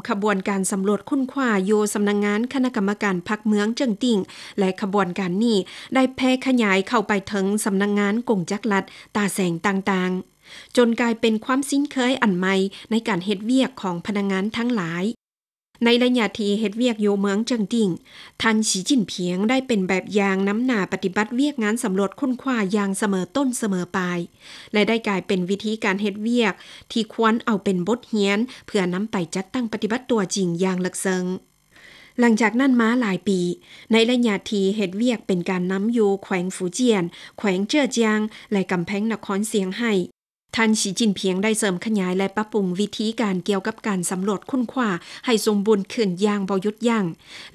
ຂະບວນການສຳຫຼວດຄົ້ນຄວ້າຢູ່ສຳນັກງານຄະນະກຳມະການພັກເມືອງເຈິງຕິ້ງ ແລະ ຂະບວນການນີ້ໄດ້ແຜ່ຂະຫຍາຍເຂົ້າໄປເຖິງສຳນັກງານກົງຈັກລັດຕາແສງຕ່າງໆ, ຈົນກາຍເປັນຄວາມຊິນເຄີຍອັນໃໝ່ໃນການເຮັດວຽກຂອງພະນັກງານທັງຫຼາຍ. ໃນໄລຍະທີ່ເຮັດວຽກຢູ່ເມືອງເຈິງຕິ້ງ, ທ່ານ ສີຈິ້ນຜິງ ໄດ້ເປັນແບບຢ່າງນຳໜ້າປະຕິບັດວຽກງານສຳຫຼວດຄົ້ນຄວ້າຢ່າງສະເໝີຕົ້ນສະເໝີປາຍ ແລະ ໄດ້ກາຍເປັນວິທີການເຮັດວຽກທີ່ຄວນເອົາເປັນບົດຮຽນ ເພື່ອນຳໄປຈັດຕັ້ງປະຕິບັດຕົວຈິງຢ່າງເລິກເຊິ່ງ. ຫຼັງຈາກນັ້ນມາຫຼາຍປີ, ໃນໄລຍະທີ່ເຮັດວຽກເປັນການນຳຢູ່ແຂວງຟູຈຽນ, ແຂວງເຈີອຈຽງ ແລະ ກຳແພງນະຄອນຊຽງໄຮ້, ທ່ານ ສີຈິ້ນຜິງ ໄດ້ເສີມຂະຫຍາຍ ແລະ ປັບປຸງວິທີການກ່ຽວກັບການສຳຫຼວດຄົ້ນຄວ້າໃຫ້ສົມບູນຂຶ້ນຢ່າງບໍ່ຢຸດຢັ້ງ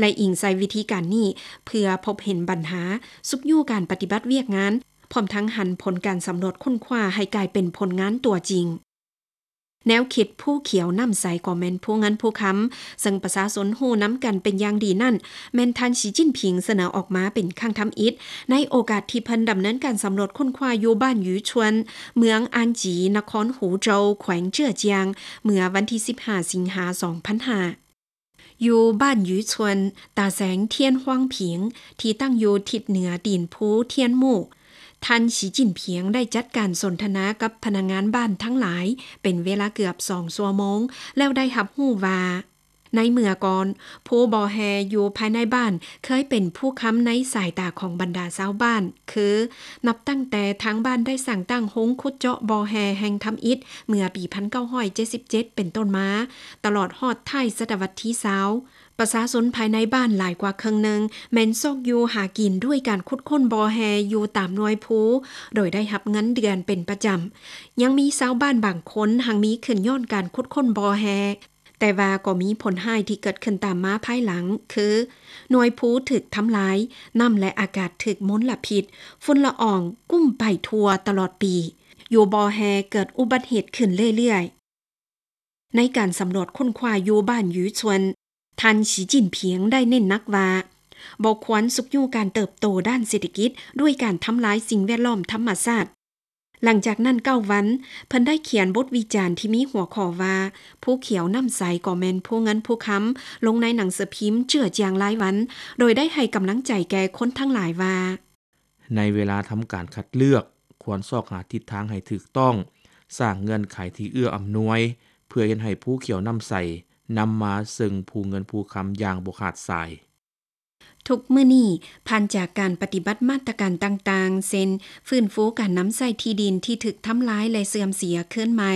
ແລະ ອີງໃສ່ວິທີການນີ້ເພື່ອພົບເຫັນບັນຫາ, ຊຸກຍູ້ການປະຕິບັດວຽກງານ, ພ້ອມທັງຫັນຜົນການສຳຫຼວດຄົ້ນຄວ້າໃຫ້ກາຍເປັນຜົນງານຕົວຈິງ. ແນວຄິດພູຂຽວນ້ຳໃສກໍແມ່ນພູເງິນພູຄຳ, ເຊິ່ງປະຊາຊົນຮູ້ນຳກັນເປັນຢ່າງດີນັ້ນ, ແມ່ນທ່ານ ສີຈິ້ນຜິງ ສະເໜີອອກມາເປັນຄັ້ງທຳອິດ ໃນໂອກາດທີ່ເພິ່ນດຳເນີນການສຳຫຼວດຄົ້ນຄວ້າຢູ່ບ້ານຫຍູຊວນ, ເມືອງອານຈີ, ນະຄອນຫູໂຈວ, ແຂວງເຈີອຈຽງ, ເມື່ອວັນທີສິບຫ້າ ສິງຫາ ສອງພັນຫ້າ. ຢູ່ບ້ານຫຍູຊວນ, ຕາແສງທຽນຫວາງຜິງ ທີ່ຕັ້ງຢູ່ທິດເໜືອຕີນພູທຽນໝູ່, ທ່ານ ສີຈິ້ນຜິງ ໄດ້ຈັດການສົນທະນາກັບພະນັກງານບ້ານທັງຫຼາຍເປັນເວລາເກືອບສອງຊົ່ວໂມງ ແລ້ວໄດ້ຮັບຮູ້ວ່າ ໃນເມື່ອກ່ອນ, ພູບໍ່ແຮ່ຢູ່ພາຍໃນບ້ານເຄີຍເປັນພູຄຳໃນສາຍຕາຂອງບັນດາຊາວບ້ານ, ຄື ນັບຕັ້ງແຕ່ທາງບ້ານໄດ້ສ້າງຕັ້ງໂຮງຂຸດເຈາະບໍ່ແຮ່ແຫ່ງທຳອິດເມື່ອປີພັນເກົ້າຮ້ອຍເຈັດສິບເຈັດເປັນຕົ້ນມາ, ຕະຫຼອດຮອດທ້າຍສະຕະວັດທີຊາວ, ປະຊາຊົນພາຍໃນບ້ານຫຼາຍກວ່າເຄິ່ງໜຶ່ງແມ່ນຊອກຢູ່ຫາກິນດ້ວຍການຂຸດຄົ້ນບໍ່ແຮ່ຢູ່ຕາມໜ່ວຍພູ, ໂດຍໄດ້ຮັບເງິນເດືອນເປັນປະຈຳ. ຍັງມີຊາວບ້ານບາງຄົນຮັ່ງມີຂຶ້ນຍ້ອນການຂຸດຄົ້ນບໍ່ແຮ່, ແຕ່ວ່າກໍມີຜົນຮ້າຍທີ່ເກີດຂຶ້ນຕາມມາພາຍຫຼັງ, ຄື ໜ່ວຍພູຖືກທຳລາຍ, ນ້ຳ ແລະ ອາກາດຖືກມົນລະພິດ, ຝຸ່ນລະອອງກຸ້ມໄປທົ່ວຕະຫຼອດປີ, ຢູ່ບໍ່ແຮ່ເກີດອຸບັດເຫດຂຶ້ນເລື້ອຍໆ. ໃນການສຳຫຼວດຄົ້ນຄວ້າຢູ່ບ້ານຫຍູຊວນ, ທ່ານ ສີຈິ້ນຜິງ ໄດ້ເນັ້ນໜັກວ່າ ບໍ່ຄວນຊຸກຍູ້ການເຕີບໂຕດ້ານເສດຖະກິດດ້ວຍການທຳລາຍສິ່ງແວດລ້ອມທຳມະຊາດ. ຫຼັງຈາກນັ້ນເກົ້າວັນ, ເພິ່ນໄດ້ຂຽນບົດວິຈານທີ່ມີຫົວຂໍ້ວ່າ ພູຂຽວນ້ຳໃສກໍແມ່ນພູເງິນພູຄຳ ລົງໃນໜັງສືພິມເຈືອຈຽງລາຍວັນ, ໂດຍໄດ້ໃຫ້ກຳລັງໃຈແກ່ຄົນທັງຫຼາຍວ່າ ໃນເວລາທຳການຄັດເລືອກ, ຄວນຊອກຫາທິດທາງໃຫ້ຖືກຕ້ອງ, ສ້າງເງື່ອນໄຂທີ່ເອື້ອອຳນວຍ ເພື່ອເຮັດໃຫ້ພູຂຽວນ້ຳໃສນຳມາເຊິ່ງພູເງິນພູຄຳຢ່າງບໍ່ຂາດສາຍ. ທຸກມື້ນີ້, ຜ່ານຈາກການປະຕິບັດມາດຕະການຕ່າງໆ ເຊັ່ນ ຟື້ນຟູການນຳໃຊ້ທີ່ດິນທີ່ຖືກທຳລາຍ ແລະ ເສື່ອມເສຍຄືນໃໝ່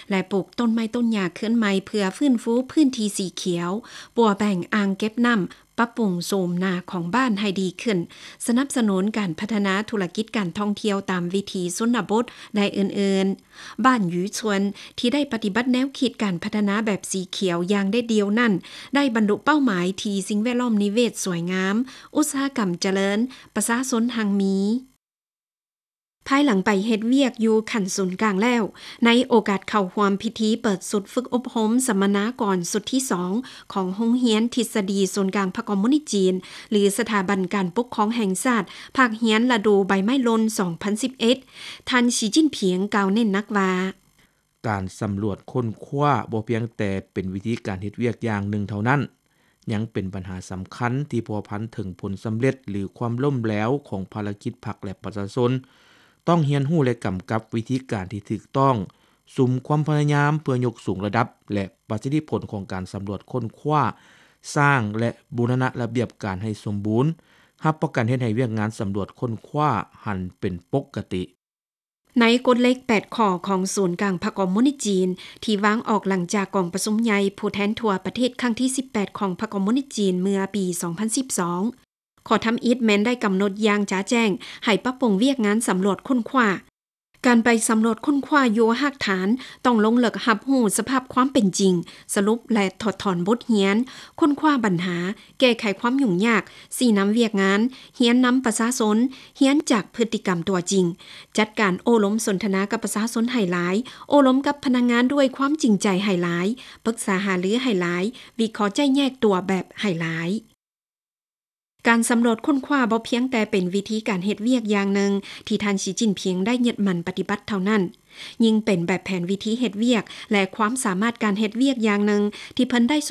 ແລະ ປູກຕົ້ນໄມ້ຕົ້ນຫຍ້າຄືນໃໝ່ ເພື່ອຟື້ນຟູພື້ນທີ່ສີຂຽວ, ປົວແບ່ງອ່າງເກັບນ້ຳ, ປັບປຸງໂສມໜ້າຂອງບ້ານໃຫ້ດີຂຶ້ນ, ສະໜັບສະໜູນການພັດທະນາທຸລະກິດການທ່ອງທ່ຽວຕາມວິຖີຊົນນະບົດ ແລະ ອື່ນໆ. ບ້ານຫຍູຊວນ ທີ່ໄດ້ປະຕິບັດແນວຄິດການພັດທະນາແບບສີຂຽວຢ່າງເດັດດ່ຽວນັ້ນ ໄດ້ບັນລຸເປົ້າໝາຍທີ່ສິ່ງແວດລ້ອມນິເວດສວຍງາມ, ອຸດສາຫະກຳຈະເລີນ, ປະຊາຊົນຮັ່ງມີ. ພາຍຫຼັງໄປເຮັດວຽກຢູ່ຂັ້ນສູນກາງແລ້ວ, ໃນໂອກາດເຂົ້າຮ່ວມພິທີເປີດຊຸດຝຶກອົບຮົມສຳມະນາກອນຊຸດທີສອງ ຂອງໂຮງຮຽນທິດສະດີສູນກາງພັກຄອມມູນິດຈີນ ຫຼື ສະຖາບັນການປົກຄອງແຫ່ງຊາດ ພາກຮຽນລະດູໃບໄມ້ຫຼົ່ນ ສອງພັນສິບເອັດ, ທ່ານ ສີຈິ້ນຜິງ ກ່າວເນັ້ນໜັກວ່າ ການສຳຫຼວດຄົ້ນຄວ້າບໍ່ພຽງແຕ່ເປັນວິທີການເຮັດວຽກຢ່າງໜຶ່ງເທົ່ານັ້ນ, ຍັງເປັນບັນຫາສຳຄັນທີ່ພົວພັນເຖິງຜົນສຳເລັດ ຫຼື ຄວາມລົ້ມແຫຼວຂອງພາລະກິດພັກ ແລະ ປະຊາຊົນ. ຕ້ອງຮຽນຮູ້ ແລະ ກຳກັບວິທີການທີ່ຖືກຕ້ອງ, ສຸມຄວາມພະຍາຍາມເພື່ອຍົກສູງລະດັບ ແລະ ປະສິດທິຜົນຂອງການສຳຫຼວດຄົ້ນຄວ້າ, ສ້າງ ແລະ ບູລະນະລະບຽບການໃຫ້ສົມບູນ, ຮັບປະກັນເຮັດໃຫ້ວຽກງານສຳຫຼວດຄົ້ນຄວ້າຫັນເປັນປົກກະຕິ. ໃນກົດເຫຼັກແປດຂໍ້ຂອງສູນກາງພັກຄອມມູນິດຈີນ ທີ່ວາງອອກຫຼັງຈາກກອງປະຊຸມໃຫຍ່ຜູ້ແທນທົ່ວປະເທດຄັ້ງທີສິບແປດຂອງພັກຄອມມູນິດຈີນເມື່ອປີສອງພັນສິບສອງ, ຂໍ້ທຳອິດແມ່ນໄດ້ກຳນົດຢ່າງຈະແຈ້ງໃຫ້ປັບປຸງວຽກງານສຳຫຼວດຄົ້ນຄວ້າ. ການໄປສຳຫຼວດຄົ້ນຄວ້າຢູ່ຮາກຖານ ຕ້ອງລົງເລິກຮັບຮູ້ສະພາບຄວາມເປັນຈິງ, ສະຫຼຸບ ແລະ ຖອດຖອນບົດຮຽນ, ຄົ້ນຄວ້າບັນຫາ, ແກ້ໄຂຄວາມຫຍຸ້ງຍາກ, ຊີ້ນຳວຽກງານ, ຮຽນນຳປະຊາຊົນ, ຮຽນຈາກພຶດຕິກຳຕົວຈິງ, ຈັດການໂອ້ລົມສົນທະນາກັບປະຊາຊົນໃຫ້ຫຼາຍ, ໂອ້ລົມກັບພະນັກງານດ້ວຍຄວາມຈິງໃຈໃຫ້ຫຼາຍ, ປຶກສາຫາລືໃຫ້ຫຼາຍ, ວິເຄາະແຍກຕົວແບບໃຫ້ຫຼາຍ. ການສຳຫຼວດຄົ້ນຄວ້າບໍ່ພຽງແຕ່ເປັນວິທີການເຮັດວຽກຢ່າງໜຶ່ງທີ່ທ່ານ ສີຈິ້ນຜິງ ໄດ້ຍຶດໝັ້ນປະຕິບັດເທົ່ານັ້ນ, ຍິ່ງເປັນແບບແຜນວິທີເຮັດວຽກ ແລະ ຄວາມສາມາດການເຮັດວຽກຢ່າງໜຶ່ງທີ່ເພິ່ນໄດ້ຊົງ